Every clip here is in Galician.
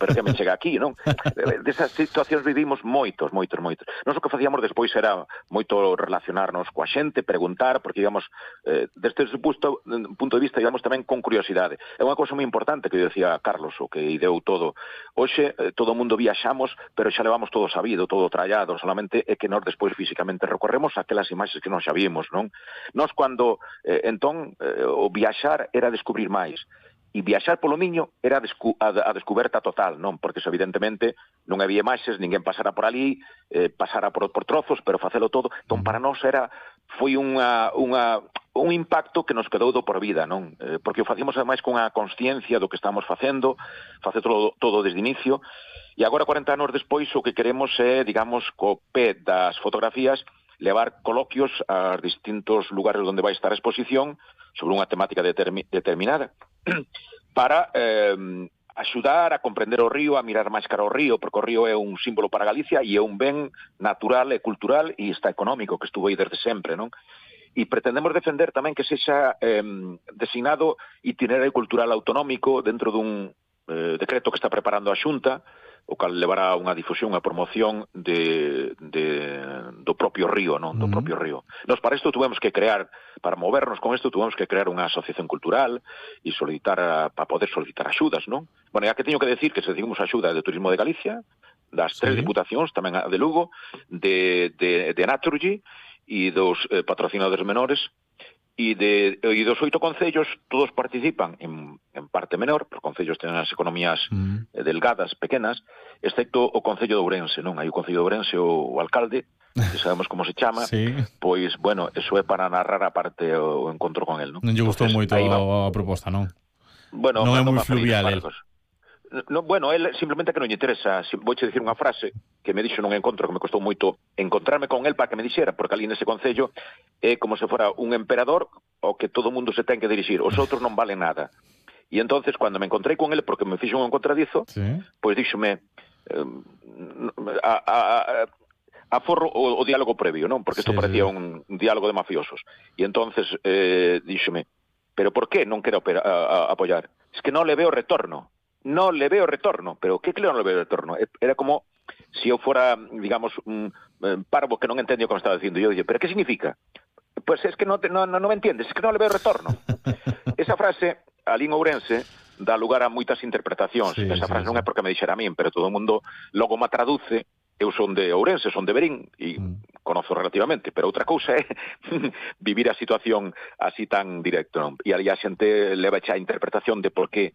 pero que me chega aquí, non? Desas situacións vivimos moitos. Nós o que facíamos despois era moito relacionarnos coa xente, preguntar, porque, digamos, desde ese punto de vista, digamos, tamén con curiosidade. É unha cousa moi importante que decía Carlos, o que ideou todo. Hoxe, todo o mundo viaxamos, pero xa levamos todo sabido, todo trallado, solamente é que nós despois físicamente recorremos aquelas imaxes que nós xa vimos, non? Nós cando, entón, o viaxar era descubrir máis. E viaxar polo Miño era a descoberta total, non? Porque, evidentemente, non había imaxes, ninguén pasara por ali, pasara por trozos, pero facelo todo. Entón, para nós foi un impacto que nos quedou do por vida, non? Porque o facíamos, ademais, con a consciencia do que estamos facendo, facer todo desde inicio, e agora, 40 anos despois, o que queremos é, digamos, co pé das fotografías, levar coloquios a distintos lugares onde vai estar a exposición sobre unha temática determinada, para axudar a comprender o río, a mirar máis cara ao río, porque o río é un símbolo para Galicia e é un ben natural e cultural e está económico, que estuvo aí desde sempre, non? E pretendemos defender tamén que sexa designado itinerario cultural autonómico dentro dun decreto que está preparando a Xunta, o cal levará unha difusión, unha promoción do propio río, non? Do propio río. Nos para isto tuvemos que crear, para movernos con isto, tuvemos que crear unha asociación cultural e para poder solicitar axudas, non? Bueno, ya que teño que decir que recibimos axuda de Turismo de Galicia, das 3 diputacións, tamén a de Lugo, de Naturgy e dos patrocinadores menores, e dos 8 concellos, todos participan en parte menor, porque concellos teñen as economías delgadas, pequenas, excepto o Concello de Ourense, non? Hai o Concello de Ourense, o alcalde, que sabemos como se chama, pois, bueno, eso é para narrar a parte o encontro con el, non? Non lle gustou moito a proposta, non? Bueno, non é moi fluvial, el. No, bueno, él simplemente que non lle interesa. Vouche dicir unha frase que me dixo nun encontro que me costou moito encontrarme con él para que me dixera, porque ali nese concello é como se fora un emperador ao que todo o mundo se ten que dirixir, os outros non valen nada. E entonces, cando me encontrei con él, porque me fixo un encontradizo, pois díxome aforro o diálogo previo, non? Porque isto parecía un diálogo de mafiosos. E entonces díxome, pero por que non quero apoiar? Es que non le veo retorno. No le veo retorno, pero ¿qué claro no le veo retorno? Era como si eu fora, digamos, un parvo que non entendía o que me estaba dicindo. Eu dije, ¿pero qué significa? Pues es que no me entiendes, es que no le veo retorno. Esa frase, ali en Ourense, dá lugar a moitas interpretacións. Esa frase non é porque me dixera a min, pero todo o mundo logo me traduce. Eu son de Ourense, son de Verín, e conozo relativamente, pero outra cousa é vivir a situación así tan directo, non? E ali a xente leva xa a interpretación de por que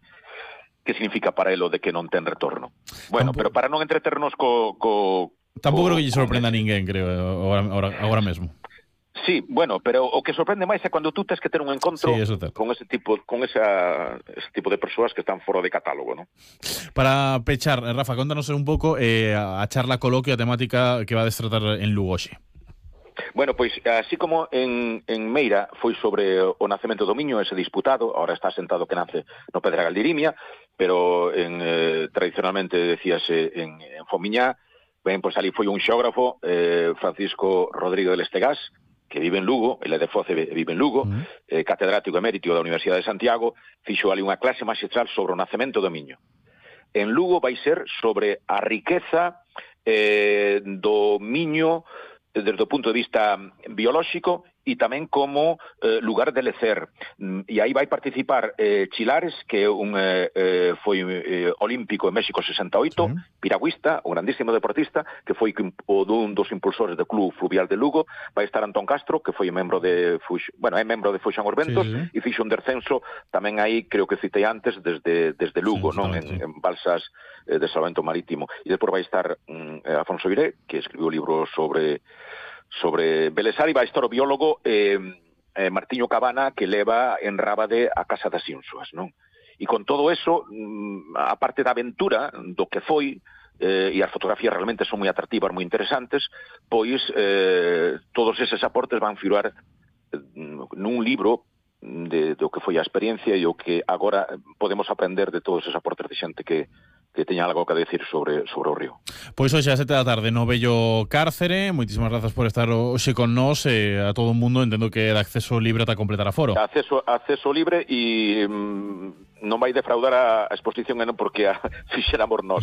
significa para elo de que non ten retorno. Bueno, pero para non entreternos tampouco creo que lle sorprenda a ninguén, creo, agora mesmo. Sí, bueno, pero o que sorprende máis é cando tú tens que ter un encontro con ese tipo de persoas que están fora de catálogo, non? Para pechar, Rafa, contanos un pouco a charla coloquio, a temática que va a destratar en Lugo hoxe. Bueno, pois, así como en Meira foi sobre o nacemento do Miño, ese disputado, ahora está sentado que nace no Pedregal de Irimia, pero tradicionalmente decíase en Fomiñá, ben, pois ali foi un xeógrafo, Francisco Rodrigo del Estegás, que vive en Lugo, ele é de Foce, vive en Lugo, catedrático emérito da Universidade de Santiago, fixo ali unha clase magistral sobre o nacemento do Miño. En Lugo vai ser sobre a riqueza do Miño desde o punto de vista biolóxico e tamén como lugar de lecer. E aí vai participar Chilares, que foi olímpico en México 68, piragüista, un grandísimo deportista, que foi un dos impulsores do Club Fluvial de Lugo. Vai estar Antón Castro, que foi membro de Fuxan os Ventos, e fixo un descenso tamén aí, creo que citei antes, desde Lugo, non? En balsas de salvamento marítimo. E depois vai estar Afonso Viré, que escribiu o libro sobre Belesari, vai estar o biólogo Martiño Cabana, que leva en Rábade a Casa das Ínsuas, non? E con todo eso, a parte da aventura do que foi, e as fotografías realmente son moi atractivas, moi interesantes, pois todos eses aportes van figurar nun libro do que foi a experiencia e o que agora podemos aprender de todos eses aportes de xente que teña algo que decir sobre o río. Pois hoxe a 7 da tarde no Bello Cárcere. Moitísimas grazas por estar hoxe con nós, a todo o mundo, entendo que é de acceso libre ata completar aforo. Acceso libre e non vai defraudar a exposición porque a fixéramos nós.